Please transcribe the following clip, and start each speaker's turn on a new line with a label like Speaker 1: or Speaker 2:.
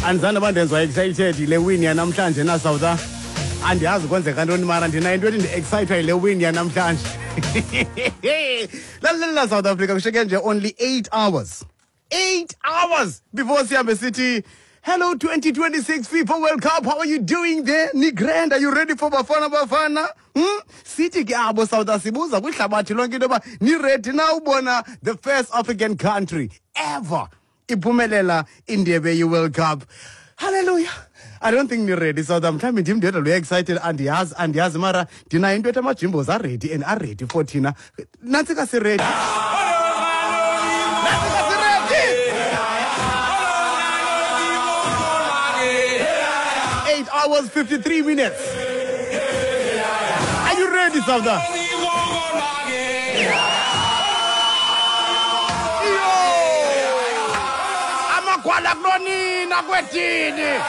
Speaker 1: Andizange uba ndenziwa excited yile win yanamhlanje na South. Andiyazi kwenzeka ntoni mara ndinayo into ethi ndi-excitwa yile win yanamhlanje. Lalela South Africa, kushiyeke nje only 8 hours. 8 hours before sihambe sithi hello 2026 FIFA World Cup. How are you doing there? Ni grand, are you ready for Bafana Bafana? Sithi ke abo South asibuza kwihlabathi lonke into yoba ni ready na ubona the first African country ever iphumelela indebe ye-World Cup. Hallelujah. I don't think ni ready South. Mhlawumbi ndim ndedwa lo excited, andiyazi, andiyazi mara ndinayo into ethi amajimbos aready and aready for thina. Nantsi ka siready. Nantsi ka siready. 8 hours 53 minutes. Are you ready, South? Amagwala kulonina kwedini.